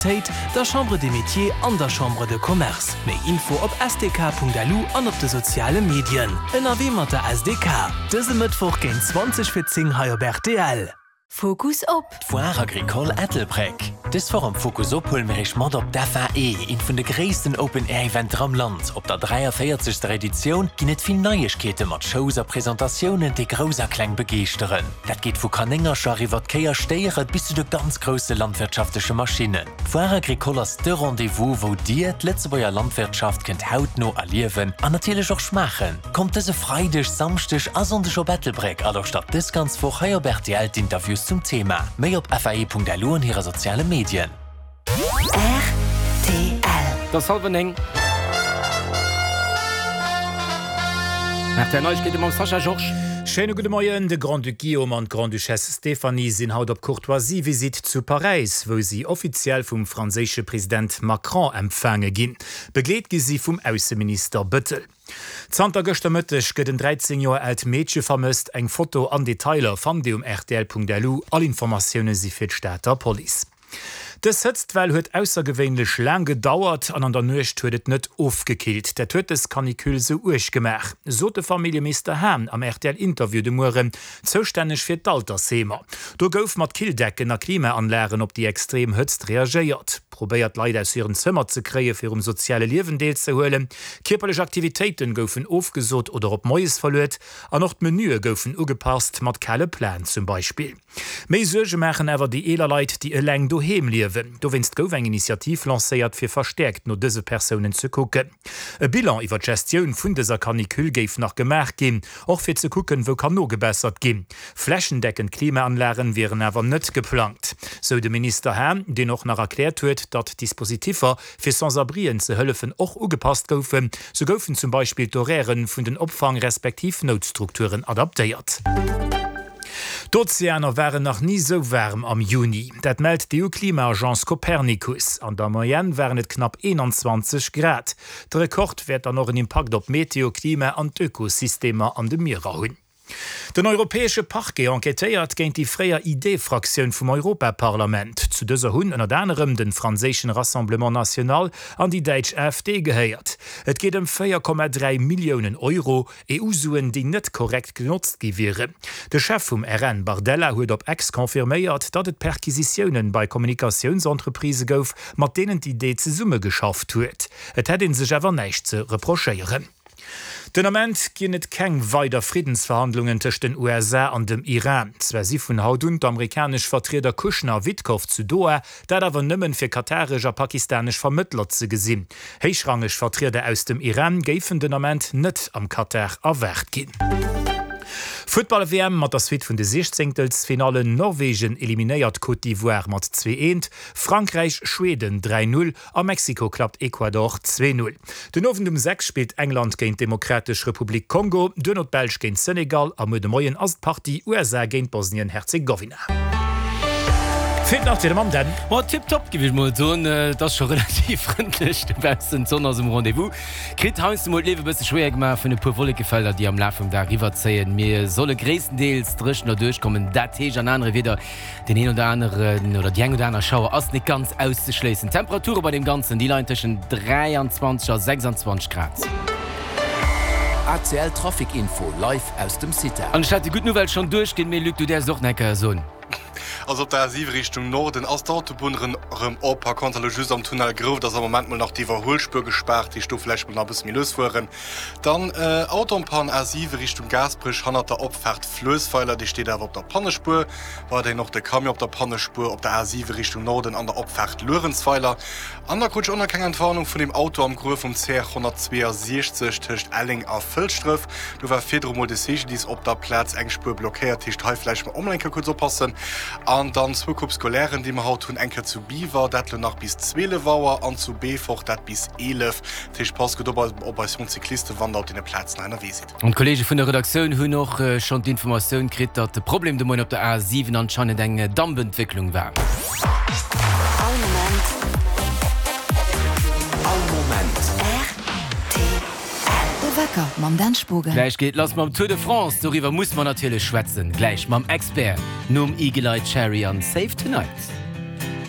Tate, der Chambre des Métiers an der Chambre de Commerce. Méi Info op sdk.lu an op de soziale Medien. Ënnerwee mat der SDK, dëse Mëttwoch géint 20 fir 10 hei op rtl. Fokus op. D'Foire Agricole Ettelbréck. Dës Woch am Fokus Op huele mir iech mat op d'FAE, eent vun de gréissten Open Air Eventer am Land. Op der 43. Editioun ginn et vill Neiegkeete mat Shows a Presentatiounen, déi Grouss a Kleng begeeschteren. Dat geet vu Kanéngercher iwwer d'Kéier Stéiere bis zu de ganz grousse landwirtschaftleche Maschinnen. D'Foire Agricole ass de Rendez-vous, wou Dir d'Lëtzebuerger Landwirtschaft kënnt hautno erliewen an natierlech och schmaachen. Kommt dëse Freideg, Samschdeg a Sonndeg op Ettelbréck a lauschtert dës ganz Woch hei op rtl d'Interviews zum Thema. Méi op fae.lu an hire soziale Medien. Rtl. Et ass hallwer 9. Rtl Neiegkeete mam Sascha Georges. Schéine gudde Moien. De Grand-Duc Guillaume an d'Grande-Duchesse Stéphanie sinn haut op Courtoisie-Visitt zu Paräis, wou si offiziell vum franséische President Macron empfaange ginn. Begleet gi si vum Ausseminister Bëttel. Zanter gëschter Mëtteg gëtt en 13 Joer aalt Meedche vermësst. Eng Foto an Detailer fannt Dir um rtl.lu. All Informatioune si fir d'Stater Police. Dës Hëtztwell huet aussergewéinlech laang gedauert an an der Nuecht huet et net ofgekillt. Dat huet dës Canicule sou uerg gemaach, sot de Familljemeester Hahn am RTL-Interview de Mueren, zoustänneg fir d'Altersheemer. Do gouf mat Killdecken a Klimaanlagen op déi extrem Hëtzt reagéiert, probéiert d'Leit aus hiren Zëmmer ze kréie fir um soziale Liewen deelzehuelen. Kierperlech Aktivitéiten goufen ofgesot oder op moies verluet an och d'Menüe goufen ugepasst, mat kale Platen zum Beispill. Méi Suerge maachen awer déi eeler Leit, déi eleng doheem liewen. Dowéinst gouf eng Initiativ lancéiert, fir verstäerkt no dëse Persounen ze kucken. E Bilan iwwer d'Gestioun vun dëser Canicule géif nach gemaach ginn, och fir ze kucken, wou kann nogebessert ginn. Flächendeckend Klimaanlagen wieren awer net geplangt, sou de Minister Hahn, deen och nach erkläert huet, datt d'Dispositiffer, fir Sans-abrien ze hëllefen, och ugepasst goufen. Sou goufen zum Beispill d'Horairë vun den Opfang respektiv Noutstrukturen adaptéiert. D'Ozeaner waren nach ni sou waarm am Juni. Dat mellt d'EU-Klima-Agence Copernicus. An der Moyenne waren et knapp 21 Grad. De Rekord wäert dann och en Impakt op d'Meteo, Klima an d'Ökosystemer an de Mierer hunn. Den europäesche Parquet enquêtéiert géint déi fréier ID-Fraktioun vum Europaparlament. Zu dëser hunn ënnert anerem de franséischen Rassemblement National an déi däitsch AfD gehéiert. Et geet ëm 4,3 Milliounen Euro, EU-Suen, déi net korrekt genotzt gi wieren. De Chef vum RN Bardella huet op X confirméiert, datt et Perquisitiounen bei Kommunikatiounsentreprisë gouf, mat deenen d'ID zesummegeschafft huet. Et hätt ee sech awer näischt ze reprochéieren. Den Ament ginn et keng weider Friddensverhandlungen tëscht den USA an dem Iran. Zwar si vun haut un d'amerikanesch Vertrieder Kushner a Witkoff zu Doha, Dat awer nëmmen, fir kataresch a pakistanesch Vermëttler ze gesinn. Héichrangeg Vertrieder aus dem Iran géifen den Ament net am Katar erwaart ginn. Futtball-WM mat der Suite vun de Siechzéngtelsfinallen, Norwegen eliminéiert Côte d'Ivoire mat 2, 1, Frankräich Schweden 3, 0 a Mexiko klappt Ecuador 2, 0. Den Owend um 6 spillt England géint d'Demokratesch Republik Kongo, duerno d'Belsch géint Senegal a muer de Moien ass d'Partie USA géint Bosnien-Herzegowina. Feelt nach d'Wieder mam Dan. Ma tiptop giff ech mol soen. Et ass scho relativ frëndlech dobaussen, d'Sonn ass um Rendez-vous. Kritt heiansdo mol d'Liewe bësse schwéier gemaach vun e puer Wollekefelder, déi am Laf vum Dag eriwwerzéien. Mir solle gréisstendeels dréchen erduerchkommen, dat heescht an anere Wieder, deen een oder aneren oder déi eng oder aner Schauer ass net ganz auszeschléissen. D'Temperature bei deem Ganzen, déi leien tëschent 23 a 26 Grad. ACL Trafic Info live aus dem CITA. An ech hat déi gutt Nouvelle schonn duerchginn, mee Luc, du däerfs et och nach eng Kéier soen. Also op der A7 Richtung Norden ass d'Autobunn rëm op. Par contre elo just am Tunnel Grouft ass am Moment mol nach d'Iwwerhuelspuer gespaart, heescht do vläicht mol nach e bësse méi lues fueren. Dann Auto en panne A7 Richtung Gaasperech hannert der Opfaart Fluessweiler, dee steet awer op der Pannespuer. Weiderhin och de Camion op der Pannespuer op der A7 Richtung Norden an der Opfaart Luerenzweiler. An da krut ech och nach keng Entwarnung vun deem Auto am Gruef um CR 162 tëscht Elleng a Fëlschdref. Do war virdru mol de CGDIS op der Plaz, eng Spuer blockéiert, heescht hei vläicht mol och mol eng Kéier kuerz oppassen. An dann zwou Coupes scolairen, déi mer haut hunn, eng Kéier zu Biwer, dat lo nach bis 12 Auer, an zu Beefort, dat bis 11. Dat heescht, passt gutt op op eis jonk Cyclisten, wann der op deene Plazen hei ënnerwee sidd. An d'Kolleege vun der Redaktioun hunn och schonn d'Informatioun kritt, datt de Problem de Moien op der A7 anscheinend eng Dampentwécklung war. All Moment. All Moment. Rtl. De Wecker mam Dan Spogen. Gläich geet lass mam Tour de France, doriwwer muss mer natierlech schwätzen. Gläich mam Expert nom Eagle Eye Cherry an Save Tonight.